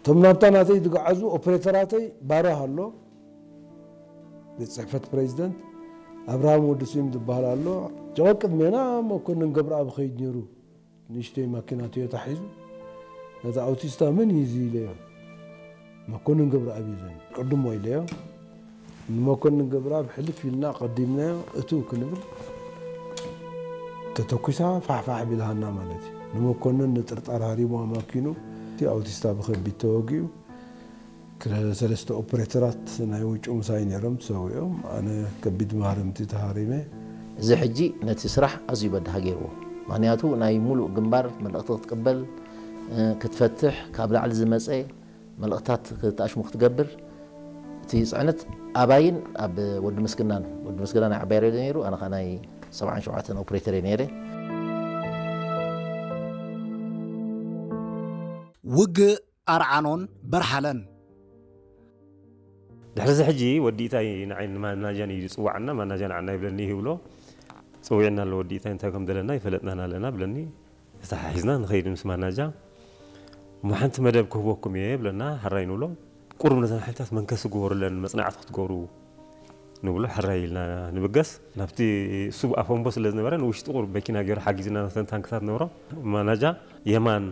እቶም ናብታ ናተይ ዝገዓዙ ኦፕሬተራተይ ባራህ ኣሎ፣ ቤት ጽሕፈት ፕሬዚደንት ኣብርሃም ወዲ ስዩም ዝበሃል ኣሎ። ጀወ ቅድሜና መኮንን ገብረኣብ ኸይድ ነይሩ። ንእሽተይ ማኪና ቶዮታ ሒዙ፣ ነታ ኣውቲስታ መን እዩ እዚ ኢለዮ። መኮንን ገብረኣብ እዩ ዘን ቅድሞ ኢለዮ። ንመኮንን ገብረኣብ ሕልፍ ኢልና ቀዲምናዮ፣ እቱ ክንብል ተተኩሳ ፋሕፋሕ ቢልሃና ማለት እዩ። ንመኮንን ንጥርጣር ሃሪሙ ኣማኪኑ፣ እቲ ኣውቲስታ ብኸቢድ ተወጊኡ። ክለ-፣ ሰለስተ ኦፕሬተራት ናይ ውጩ ምሳይ ነይሮም፣ ተሰዊኦም። ኣነ ከቢድ ማህረምቲ ተሃሪመ። እዚ ሕጂ ነቲ ስራሕ ኣዝዩ በዳሂ ገይርዎ። ምኽንያቱ ናይ ሙሉእ ግንባር መልእኽቲ ክትቅበል፣ እ፣ ክትፈትሕ፣ ካብ ላዕሊ ዝመጸ መልእኽታት ክትኣሽሙ ክትገብር፣ እቲ ጽዕነት ኣባይን ኣብ ወዲ ምስግናን፣ ወዲ ምስግና ናይ ዓባይ ሬድዮ ነይሩ፣ ኣነ ኸኣ ናይ ሰብዓን ሸውዓተን ኦፕሬተር እየ ነይረ። ውግእ ኣርዓኖን በርሃለን። ድሕሪ እዚ ሕጂ ወዲ ኢታይ ንዓይ ንማናጃን እዩ ዝጽዋዓና፣ ማናጃ ንዓና ይብለኒ ይብሎ። ጽዊዕና ኣሎ ወዲ ኢታይ፣ እንታይ ከም ደለና ይፈለጥናን ኣለና ብለኒ። ተተሓሒዝና ንኸይድ ምስ ማናጃ። እሞ ሓንቲ መደብ ክህበኩም እየ ብለና፣ ሕራይ ንብሎ። ቁሩብ ነተን ሓይልታት መንከሲ ግበሩለን፣ መጽናዕቲ ክትገብሩ ንብሎ፣ ሕራይ ኢልና ንብገስ። ናብቲ እሱ ኣፈንቦ ስለ ዝነበረ፣ ንውሽጢ ቁሩብ መኪና ገይሩ ሓጊዝና፣ ነተን ታንክታት ነበሮ። ማናጃ የማን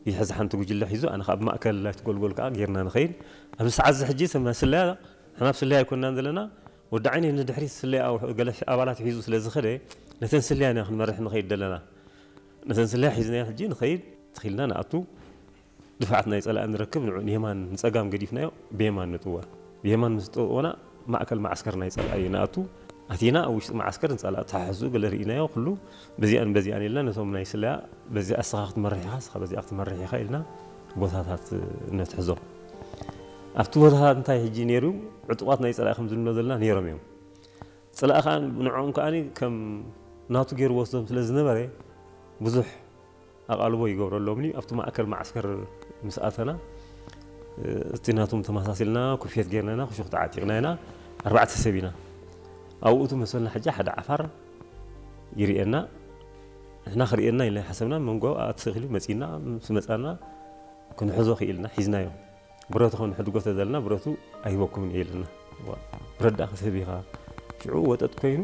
ይሕዝ ሓንቲ ጉጅለ ሒዙ፣ ኣነ ካብ ማእከል ናይቲ ጎልጎል ከኣ ጌርና ንኸይድ። ኣብዚ ሰዓት እዚ ሕጂ፣ ሰማ-፣ ስለያ፣ ንሕና ኣብ ስለያ ኣይኮንናን ዘለና። ወዲ ዓይኒ ንድሕሪት ስለያ ኣው-፣ ገለ ኣባላት ሒዙ ስለ ዝኸደ፣ ነተን ስለያ ኢና ክንመርሕ ንኸይድ ዘለና። ነተን ስለያ ሒዝና ሕጂ ንኸይድ፣ ትኺልና ንኣቱ። ድፍዓት ናይ ጸላኢ ንረክብ፣ ንዑ ንየማን ንጸጋም ገዲፍናዮ፣ ብየማን ንጥወር። ብየማን ምስ ጠወና፣ ማእከል መዓስከር ናይ ጸላኢ ንኣቱ። ኣቲና ኣብ ውሽጢ መዓስከር ንጸላኢ ተሓሕዙ፣ ገለ ርኢናዮ፣ ኩሉ በዚኣን በዚኣን ኢልና፣ ነቶም ናይ ስለያ፣ በዚኣ እስኻ ክትመርሕ ኢኻ፣ እስኻ በዚኣ ክትመርሕ ኢኻ ኢልና፣ ቦታታት ነትሕዞ። ኣብቲ ቦታ እንታይ ሕጂ ነይሩ? ዕጡቓት ናይ ጸላኢ ከም ዝብሎ ዘለና ነይሮም እዮም። ጸላኢ ከኣ ንዕኦም ከኣ ከም ናቱ ገይሩ ወስዶም ስለ ዝነበረ፣ ብዙሕ ኣቓልቦ ይገብረሎም እዩ። ኣብቲ ማእከል መዓስከር ምስ ኣተና፣ እቲ ናቶም ተመሳሲልና፣ ኩፍየት ጌርና ኢና፣ ክሹኽ ተዓጢቕና ኢና፣ ኣርባዕተ ሰብ ኢና። ኣብኡ እቲ መሰልና ሕጂ ሓደ ዓፋር ይርእየና፣ ንሕና ክርእየና ኢልና ሓሰብና፣ መንጎ ኣትኽኢሉ መጺና፣ ምስ መጻና ክንሕዞ ክኢልና፣ ሒዝናዮ። ብረቱ ኸንሕድጎ ተዘልና፣ ብረቱ ኣይህበኩምን እየ ኢልና። ዋ፣ ብረት ደኣ ክትህብ ኢኻ። ሽዑ ወጠጥ ኮይኑ፣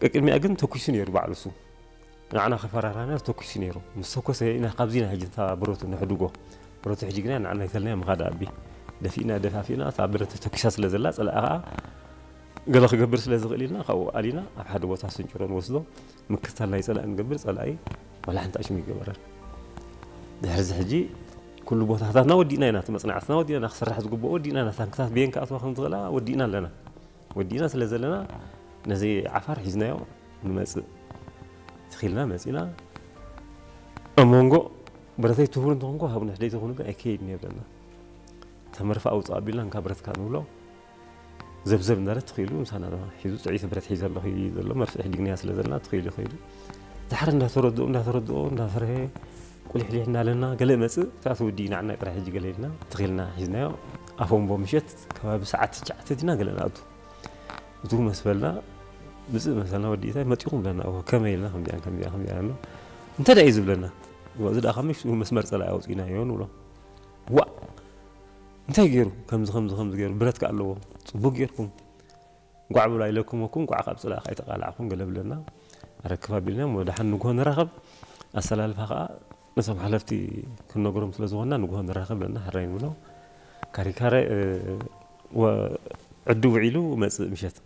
ቅድሚኣ ግን ተኩሱ ነይሩ ባዕሉ እሱ። ንዓና ከፈራራና ተኩሱ ነይሩ። ምስ ተኮሰ ኢና ካብዚ ኢና ሕጂ እታ ብረቱ ነሕድጎ። ብረቱ ሕጂ ግና ንዓና ይተልና ምኻድ ኣቢ። ደፊእና ደፋፊእና፣ እታ ብረት ተተኩሳ ስለ ዘላ፣ ጸላኢ ኸኣ ገለ ክገብር ስለ ዝኽእል ኢልና፣ ካብኡ ኣሊና ኣብ ሓደ ቦታ ስንጭሮ ንወስዶ። ምክትታል ናይ ጸላኢ ንገብር፣ ጸላኢ ዋላ ሓንቲ ኣሽሙ ይገበረን። ድሕሪ እዚ ሕጂ ኩሉ ቦታታትና ወዲእና ኢና፣ እቲ መጽናዕትና ወዲእና፣ ክስራሕ ዝግብኦ ወዲእና ኢና፣ ታንክታት ብየን ክኣትዋ ከም ዝኽእላ ወዲእና ኣለና። ወዲእና ስለ ዘለና፣ ነዚ ዓፋር ሒዝናዮ ንመጽእ። ትኺልና መጺና፣ ኣብ መንጎ ብረተይ ትህቡኒ እንተኾንኩ ሃቡኒ፣ ሕደይ ተኾኑ ግን ኣይከይድን እየ ብለና። እታ መርፍእ ኣውጽእ ኣቢልና፣ እንካ ብረትካ ንብሎ። ዘብዘብ እንዳለ ትኽኢሉ ምሳና ሒዙ፣ ጥዕይቲ ብረት ሒዘ ኣለኹ እዩ ዘሎ፣ መርፍእ ሕድግንያ ስለ ዘለና ትኽኢሉ ይኸይዱ። ድሓር እንዳተረድኦ፣ እንዳተረድኦ፣ እንዳፈርሀ፣ ቁሊሕሊሕ እንዳለና፣ ገለ መጽእ፣ እታ ትውዲ ንዓና ጥራሕ ሕጂ ገለ ኢልና፣ ትኽኢልና ሒዝናዮ። ኣፎምቦ ምሸት ከባቢ ሰዓት ትሽዓተ ዲና ገለ ንኣቱ። እቱ መስ በልና፣ ምጽእ መሰልና፣ ወዲ ኢታይ መጺኹም ብለና፣ እወ፣ ከመይ ኢልና፣ ከምዚኣን፣ ከምዚኣ፣ ከምዚኣ ኣሎ። እንታይ ደኣ እዩ ዝብለና? እወ፣ እዚ ደኣ ካብ ምሽ-፣ መስመር ጸላኢ ኣውጺእናዮ ንብሎ። ዋእ! እንታይ ገይሩ? ከምዚ፣ ከምዚ፣ ከምዚ ገይሩ። ብረት ከ ኣለዎ። ጽቡቅ ገይርኩም። ጓዕ በሉ ኣይለኩም እኮ፣ ጓዕ ካብ ጸላኢ ከይተቃላዕኩም ገለ ብለና። ኣረክብ ኣቢልና፣ እሞ ደሓን ንግሆ ንራኸብ። ኣሰላልፋ ከኣ ነቶም ሓለፍቲ ክንነግሮም ስለ ዝኾንና፣ ንግሆ ንራኸብ ብለና፣ ሕራይ ንብሎ። ካሪካረ፣ እ፣ ወ-፣ ዕዱ ውዒሉ መጽእ ምሸት።